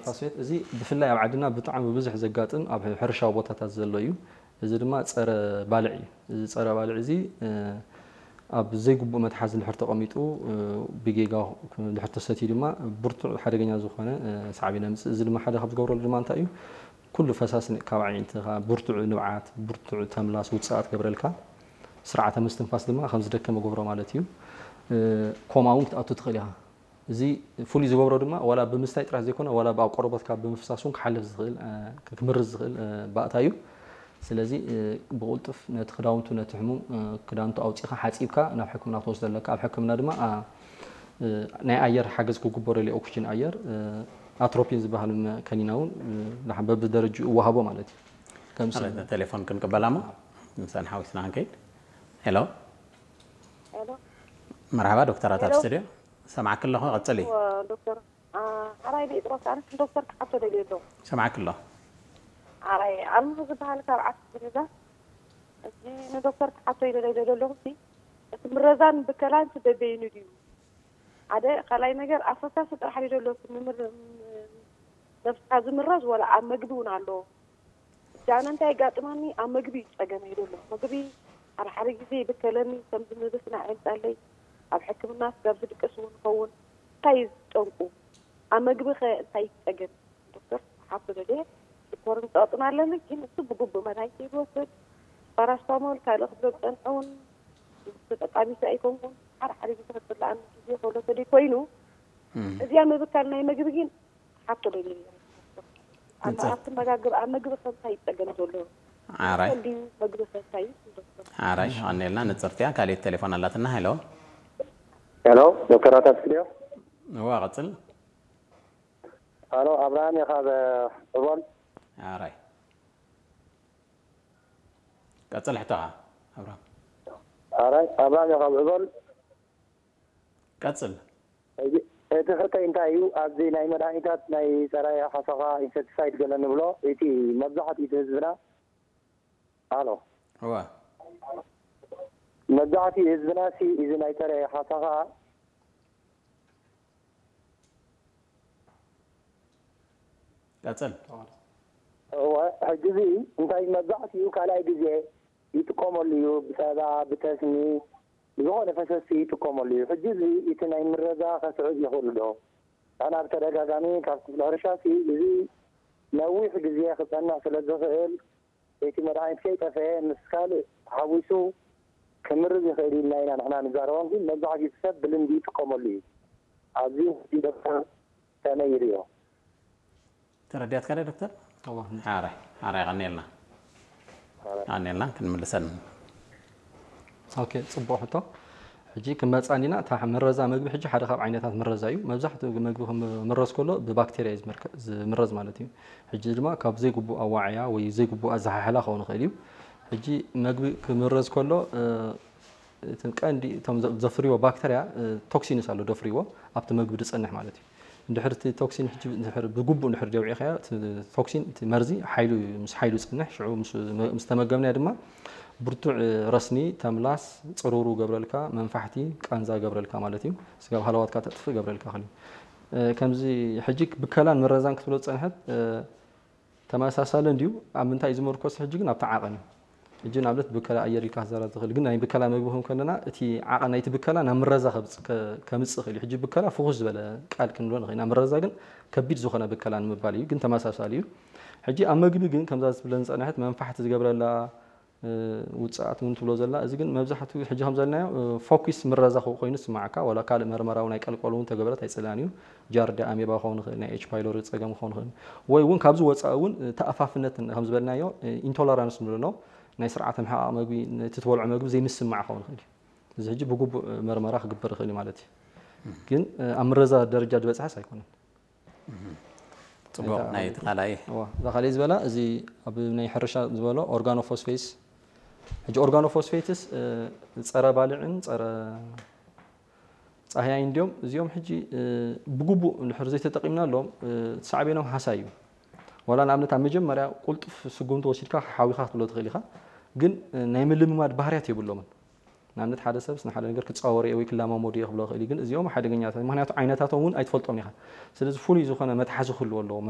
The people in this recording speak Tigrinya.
ፋስፌት እዚ ብፍላይ ኣብ ዓድና ብጣዕሚ ብብዝሒ ዘጋጥም ኣብ ሕርሻዊ ቦታታት ዘሎ እዩ። እዚ ድማ ጸረ ባልዕ እዩ። እዚ ጸረ ባልዕ እዚ ኣብ ዘይግቡእ መትሓዚ ድሕር ተቐሚጡ ብጌጋ ድሕር ተሰትዩ ድማ ብርቱዕ ሓደገኛ ዝኾነ ሳዕቤን የምፅእ። እዚ ድማ ሓደ ካብ ዝገብረሉ ድማ እንታይ እዩ? ኩሉ ፈሳሲ ካብ ኣዒንትኻ ብርቱዕ ንብዓት፣ ብርቱዕ ተምላስ ውፅኣት ገብረልካ። ስርዓተ ምስትንፋስ ድማ ከም ዝደከመ ገብሮ ማለት እዩ። ኮማ እውን ክትኣቱ ትኽእል ኢኻ። እዚ ፍሉይ ዝገብሮ ድማ ዋላ ብምስታይ ጥራሕ ዘይኮነ ዋላ ብኣብ ቆርበትካ ብምፍሳስ እውን ክሓልፍ ዝኽእል ክምርዝ ዝኽእል ባእታ እዩ። ስለዚ ብቕልጡፍ ነቲ ክዳውንቱ ነቲ ሕሙም ክዳንቱ ኣውፂኻ ሓፂብካ ናብ ሕክምና ክትወስዶ ኣለካ። ኣብ ሕክምና ድማ ናይ ኣየር ሓገዝ ክግበረሉ ኦክስጅን ኣየር ኣትሮፒን ዝበሃል ከኒና እውን በብደረጅኡ እወሃቦ ማለት እዩ። ከም ቴሌፎን ክንቅበላ እሞ ምሳን ሓዊስና ክንከይድ። ሄሎ መርሓባ ዶክተራት ኣብ ስቱድዮ። ሰማዕኪ ኣለኹ፣ ቀጽሊ። ዶክተር ሓራይ ጴጥሮስ ኣነ ዶክተር ክሓቶ ደልየ ኣለኹ። ሰማዕኪ ኣለኹ። ሓራይ ኣልማዝ ዝበሃል ካብ ዓዲ ዝርዛ። እዚ ንዶክተር ክሓቶ ኢለ ደልየ ዘለኹ ሲ እቲ ምረዛን ብከላን ሲ በበይኑ ድዩ? ሓደ ካልኣይ ነገር ኣፈሳሲ ጥራሕ ድዩ ዘሎ እቲ ምምር ነብስካ ዝምረዝ ወላ ኣብ መግቢ እውን ኣሎ? ጃነ እንታይ የጋጥመኒ ኣብ መግቢ እዩ ጸገመይ ዘሎ። መግቢ ሓደ ሓደ ግዜ ይብከለኒ ከም ዝምብስናዕ የምጻለይ። ኣብ ሕክምና ስጋብ ዝድቅስ እውን ይኸውን። እንታይ እዩ ጠንቁ? ኣብ መግቢ ከ እንታይ ይጸገም? ዶክተር ሓፍቶ ደልየ ሽኮርን ጸቕጥን ኣለኒ ግን እሱ ብግቡእ መድሃኒት ይወስድ ፓራስታሞል ካልእ ክብሎ ዝጸንሐ እውን ተጠቃሚት ኣይኮንኩን። ሓደ ሓደ ግዜ ክጽላኣኒ ግዜ ከሎ ተደይ ኮይኑ እዚኣ ምብካል ናይ መግቢ ግን ሓቶ ደልየ ኣብቲ መጋግብ ኣብ መግቢ ከምታይ ይጸገም ዘሎ ዓራይ እንዲ መግቢ ከምታይ ዶክተር ዓራይ ኣኔልና ንጽርትያ ካልእ ቴሌፎን ኣላትና። ሄሎ ሄሎ ዶክተር ኣታት ስቱዲዮ እዋ ቀጽል። ሄሎ ኣብርሃም እየ ካብ ዕቦል። ዓራይ ቀጽል ሕቶኻ ኣብርሃም። ዓራይ ኣብርሃም እየ ካብ ዕቦል። ቀጽል። እቲ ሕቶይ እንታይ እዩ ኣብዚ ናይ መድሃኒታት ናይ ጸረ ሓሰኻ ኢንሰክቲሳይድ ገለ ንብሎ እቲ መብዛሕትኡ እቲ ህዝብና ኣሎ እዋ መብዛሕትኡ ህዝብና ሲ እዚ ናይ ጸረ ሓሰኻ ቀጽል እወ ሕጂ እዚ እንታይ መብዛሕትኡ ካልኣይ ግዜ ይጥቀመሉ እዩ ብጸባ ብተስሚ ብዝኾነ ፈሰሲ ይጥቀመሉ እዩ። ሕጂ እዚ እቲ ናይ ምረዛ ከስዕብ ይኽእሉ ዶ? ኣና ብተደጋጋሚ ካብ ክፍሊ ሕርሻ ሲ እዚ ነዊሕ ግዜ ክጸንሕ ስለ ዝኽእል እቲ መድሃኒት ከይጠፈኤ ምስ ካልእ ተሓዊሱ ክምርዝ ይኽእል ኢልና ኢና ንሕና ንዛረቦም ግን መብዛሕትኡ ሰብ ብልምዲ ይጥቀመሉ እዩ። ኣብዚ ሕጂ ዶክተር ከመይ ይርእዮ? ተረዲኣትካ ዶ ዶክተር? ሓራይ ሓራይ ቀኒልና ቀኒልና ክንምልሰን ኦኬ ጽቡቕ ሕቶ። ሕጂ ክንመጽእ እንዲና እታ ምረዛ መግቢ ሕጂ ሓደ ካብ ዓይነታት ምረዛ እዩ። መብዛሕትኡ መግቢ ክምረዝ ከሎ ብባክቴርያ እዩ ዝምረዝ ማለት እዩ። ሕጂ ድማ ካብ ዘይግቡእ ኣዋዕያ ወይ ዘይግቡእ ኣዘሓሕላ ክኸውን ይኽእል እዩ። ሕጂ መግቢ ክምረዝ ከሎ እቲ ቀንዲ እቶም ዘፍርይዎ ባክተርያ ቶክሲንስ ኣሎ ደፍርይዎ ኣብቲ መግቢ ዝጸንሕ ማለት እዩ። እንድሕር እቲ ቶክሲን ሕጂ እንድሕር ብግቡእ እንድሕር ደውዒኻዮ እቲ ቶክሲን እቲ መርዚ ሓይሉ እዩ ምስ ሓይሉ ዝጸንሕ ሽዑ ምስ ተመገብናዮ ድማ ብርቱዕ ረስኒ፣ ተምላስ፣ ጽሩሩ ገብረልካ፣ መንፋሕቲ፣ ቃንዛ ገብረልካ ማለት እዩ። ስጋብ ሃለዋትካ ተጥፍእ ገብረልካ ክል ከምዚ ሕጂ ብከላን ምረዛን ክትብሎ ዝጸንሐት ተመሳሳሊ እንድዩ ኣብ ምንታይ እዩ ዝምርኮስ ሕጂ ግን ኣብቲ ዓቐን እዩ። ሕጂ ንኣብነት ብከላ ኣየር ኢልካ ክዛረብ ትኽእል ግን ናይ ብከላ መግቢ ከም ከለና እቲ ዓቐን ናይቲ ብከላ ናብ ምረዛ ከምፅእ ክእል እዩ። ሕጂ ብከላ ፍኹስ ዝበለ ቃል ክንብሎ ንኽእል ኢና ምረዛ ግን ከቢድ ዝኾነ ብከላ ንምባል እዩ ግን ተመሳሳሊ እዩ። ሕጂ ኣብ መግቢ ግን ከምዛ ዝብለን ዝፀንሐት መንፋሕቲ ዝገብረላ ውፅኣት እውን ትብሎ ዘላ እዚ ግን መብዛሕትኡ ሕጂ ከም ዘልናዮ ፎኪስ ምረዛ ኮይኑ ዝስማዓካ ዋላ ካልእ መርመራ እውን ኣይቀልቀሉ እውን ተገበረት ኣይፅላን እዩ። ጃርዲ ኣሜባ ክኸውን ይኽእል ናይ ኤች ፓይሎሪ ፀገም ክኸውን ይኽእል ወይ እውን ካብዚ ወፃኢ እውን ተኣፋፍነት ከም ዝበልናዮ ኢንቶለራንስ ንብሎ ናይ ስርዓተ ምሕቓቕ መግቢ ነቲ ትበልዖ መግቢ ዘይምስማዕ ክኸውን ይኽእል እዩ። እዚ ሕጂ ብግቡእ መርመራ ክግበር ይኽእል እዩ ማለት እዩ። ግን ኣብ ምረዛ ደረጃ ዝበፅሐስ ኣይኮነን። ፅቡቕ ናይ ተኻላይ እዋ እዛ ካልእ ዝበላ እዚ ኣብ ናይ ሕርሻ ዝበሎ ኦርጋኖፎስፌትስ ሕጂ ኦርጋኖፎስፌትስ ፀረ ባልዕን ፀረ ፃህያይ እንዲዮም እዚኦም ሕጂ ብግቡእ እንድሕር ዘይተጠቂምናሎም ሳዕቤኖም ሃሳይ እዩ። ዋላ ንኣብነት ኣብ መጀመርያ ቁልጡፍ ስጉምቲ ወሲድካ ሓዊኻ ክትብሎ ትኽእል ኢኻ። ግን ናይ ምልምማድ ባህርያት የብሎምን። ንኣብነት ሓደ ሰብስ ንሓደ ነገር ክፃወር እየ ወይ ክለማመዶ እየ ክብሎ ይኽእል እዩ። ግን እዚኦም ሓደገኛታት ምክንያቱ ዓይነታቶም እውን ኣይትፈልጦም ኢኻ። ስለዚ ፍሉይ ዝኾነ መትሓዚ ክህልዎ ኣለዎ።